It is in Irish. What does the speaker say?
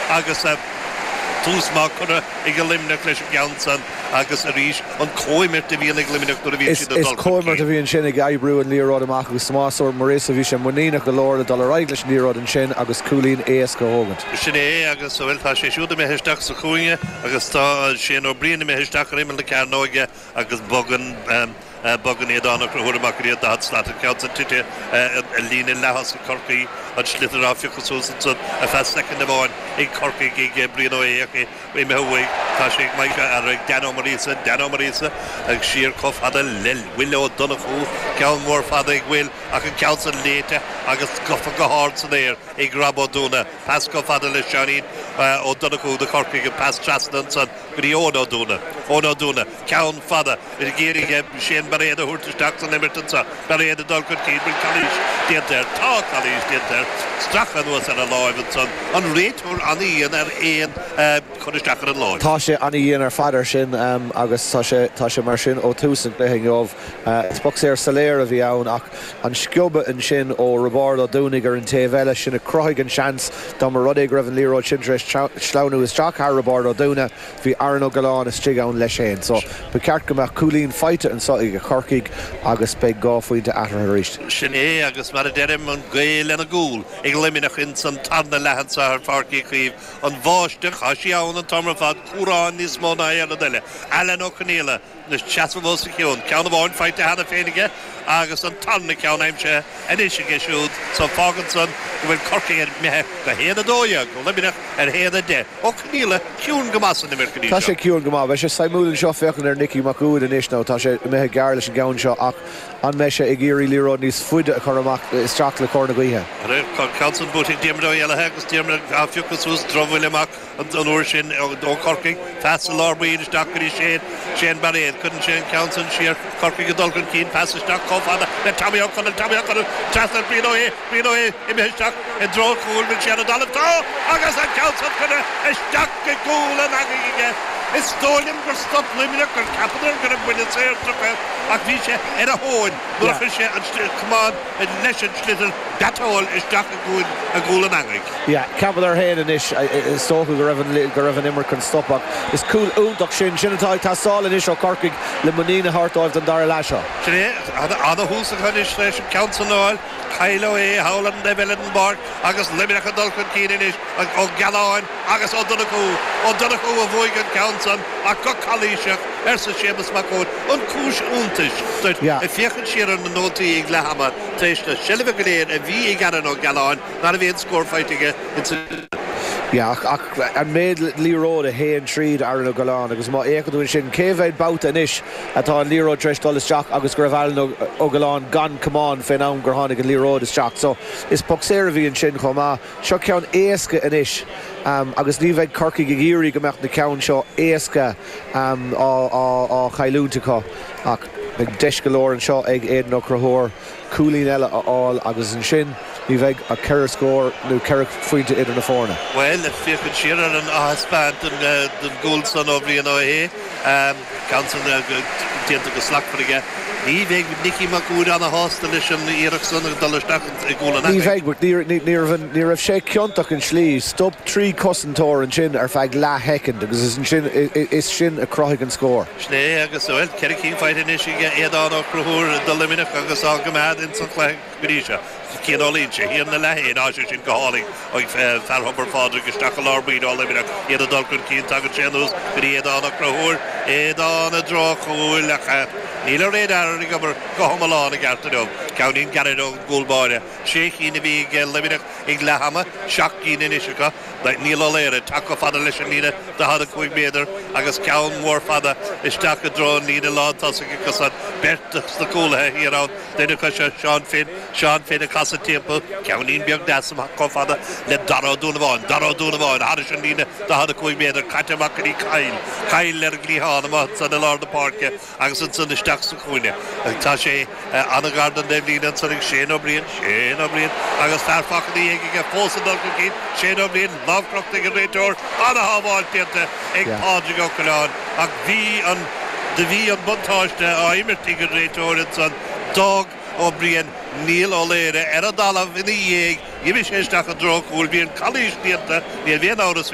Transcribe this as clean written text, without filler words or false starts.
agus tús maith curtha ag Luimneach leis an gceann san agus arís an comhimirt a bhíonn ag Luimneach nuair a bhíonn siad ag dul chun cinn. Is comhimirt a bhí ansin ag oibriú an liathróid amach agus Tomás Ó Muiríosa, bhí sé muiníneach go leor le dul ar aghaidh leis an liathróid ansin agus cúilín éasca a thógaint. Sin é agus, bhuel, tá sé siúd imithe isteach sa chúinne agus tá Shane Ó Briain imithe isteach ar imeall na cearnóige agus bogann bogann Aodán Ó Conchúir amach go dtí an 40 slat, an ceann san tite i líne leath-thosaigh Chorcaí, an sliotar á phiocadh suas ansan ar feadh soicind amháin ag Corcaigh ag Brian Ó hÉach, imithe uaidh, tá sé ag Mike, ar ag Dan Ó Muiríosa, Dan Ó Muiríosa ag siar chomh fada le Will Ó Donnchú, ceann mór fada ag Will ach an ceann san léite agus gafa go hard san aer ag Rob Ó Dúna, pas chomh fada le Seáinín Ó Donnchú do Chorcaigh, an pas trasna ansan. go dtí Eoin Ó Dúna. Eoin Ó Dúna, ceann fada ag iarraidh Shane Bairéad a thabhairt isteach san imirt anseo. Bairéad ag dul chun cinn, bhfuil calaois déanta air? Tá calaois déanta air. Stracadh anuas ar a láimh ansan. An réiteoir an-dhian ar aon chur isteach ar an láimh. Tá sé an-dhian ar fad air sin agus tá sé tá sé mar sin ó tús an chluiche inniu. Is poc saor soiléir a bhí ann ach an sciobadh ansin ó Roibeárd Ó Dúnaigh ar an taobh eile, sin a chruthaigh an seans. Dá mba rud é go raibh an liathróid sin tar éis sleamhnú isteach thar Roibeárd Ó Dúna, bhí Aaron Ó Giolláin istigh ann leis féin. So, ba cheart go mbeadh cúilín faighte anseo ag Corcaigh agus beidh 2 phointe eatarthu arís. Sin é agus mar a deirim, an ghaoth lena gcúl ag Luimneach ins an tarna leath anseo ar Pháirc Uí Chaoimh. An bháisteach, tá sí ann an t-am ar fad, cúrán níos mó ná aon rud eile. Alan Ó Conaola. Ag seasamh os a chionn. Ceann amháin faighte cheana féin aige agus an tarna ceann aimsithe anois aige siúd so fágann san go bhfuil Corcaigh imithe go 1-12, Luimneach ar 1-10. Ó Conaola ciúin go maith san imirt go dtí Tá sé seo. ciúin go maith. Beidh sé suimiúil anseo féachaint ar Nicky Mac Uaid anois nó tá sé imithe gearr leis an gceann seo ach an mbeidh sé ag iarraidh liathróid níos faide a chur amach isteach le cóir na gaoithe? Tá an ceann san buaite ag Diarmuid Ó hÉallaithe agus Diarmuid á phiocadh suas drochbhuille amach. An uair sin ó Chorcaigh, pas i lár baill isteach go dtí Shane, Shane Bairéad. Cuireann sé an ceann san siar, Corcaigh ag dul chun cinn, pas isteach chomh fada le Tommy Ó Conaill, Tommy Ó Conaill trasna ar Brian Ó hAodha, Brian Ó hAodha imithe isteach i dtreo an chúil, bhfuil sé ar an dtalamh? Tá! Agus an ceann san curtha isteach i gcúl an eangaigh aige. Is dóigh liom gur stop Luimneach, gur cheapadar go raibh buille saor tugtha ach bhí sé ar a thóin nuair a chuir sé an camán leis an sliotar biotáille isteach i gcúl an eangaigh. Yeah, cheapadar féin anois, is dócha go raibh an, go raibh an imirt chun stop ach is cúl iontach sin, sin atá ag teastáil anois ó Chorcaigh le muinín a thabhairt dóibh don dara leath seo. Sin é, ana-thús acu anois leis an ceann san a fháil, Kyle Ó hAodha thall ar an dtaobh eile den bpáirc agus Luimneach ag dul chun cinn anois, Ó Gealáin agus Ó Donnchú, Ó Donnchú a bhuaigh an ceann san ach go calaoiseach, arsa Séamus Mac Uaid, an cúis iontais duit ag féachaint siar ar na nótaí ag leath ama tar éis na seilbhe go léir a bhí ag Aaron Ó Gealáin, Ná raibh aon scór faighte aige ins an. Yeah, ach, ach an méid liathróid a théann tríd Aaron Ó Giolláin agus má fhéachann tú ansin, cé mhéad babhta anois atá an liathróid tar éis dul isteach agus go raibh Aaron Ó Giolláin gan camán fén am gur tháinig an liathróid isteach. So, is poc saor a bhí ansin chomh maith. Seo ceann éasca anois agus ní bheidh Corcaigh ag iarraidh go mbeadh na ceann seo éasca á, á, á chailliúint acu ach beidh deis go leor anseo ag Aidan Ó Conchúir. cúilín eile a fháil agus ansin ní bheidh ach ceithre scór nó ceithre phointe idir na foirne. Bhuel, féachaint siar ar an aththaispeáint den gcúl san ó Bhrian Ó hAodha, ceann san déanta go slachtmhar aige. Ní bheidh Nicky Mac Uaid ana-shásta leis an iarracht san ag dul isteach i gcúl an Ní bheidh, but ní raibh sé ciontach in slí. Stop trí chosantóir ansin ar feadh leath-shoicind agus is ansin is sin a chruthaigh an scór. Sin é agus, bhuel, 4 cinn faighte anois ag Aodán Ó Conchúir do Luimneach agus á gcoimeád ins an chluiche go dtí seo. Cian Ó Loingsigh, thiar ina leath féin, á sé sin go hálainn ag fear Thobar Phádraig isteach i lár baill ó Luimneach, iad ag dul chun cinn, tagann sé anuas go dtí Aodán Ó Conchúir, Aodán i dtreo an chúil ach níl an radar ag obair go hiomlán i gceart inniu. Ceainnín gairid ón gcúl báire. Sé chinn a bhí ag Luimneach ag leath ama, seacht gcinn anois acu. Niall Ó Laoire ag teacht chomh fada leis an líne 45 méadar agus ceann mór fada isteach i dtreo an líne lán tosaigh acu san. Beirt dos na cúlaithe thiar ann, duine acu seo Seán Finn, Seán Finn ag casadh timpeall, ceainnín beag deas amach chomh fada le Dara Ó Dúnabháin, Dara Ó Dúnabháin thairis an líne 45 méadar, caite amach go dtí Kyle, Kyle ar an gcliathán amuigh ansan i lár na páirce agus ansan isteach sa chúinne. Tá sé. An-ghar don dtaobhlíne ansan ag Shane Ó Briain, Shane Ó Briain, agus fear fágtha ina dhiaidh aige fós ag dul chun cinn, Shane Ó Briain, lámh crochta ag an réiteoir, an-shábháil déanta ag Pádraig Ó Coileáin ach bhí an do bhí an buntáiste á imirt ag an réiteoir ansan, d'fhág Ó Briain Niall Ó Laoire ar an dtalamh ina dhiaidh, d'imigh sé isteach i dtreo an chúil, bhí an calaois déanta, níl aon amhras.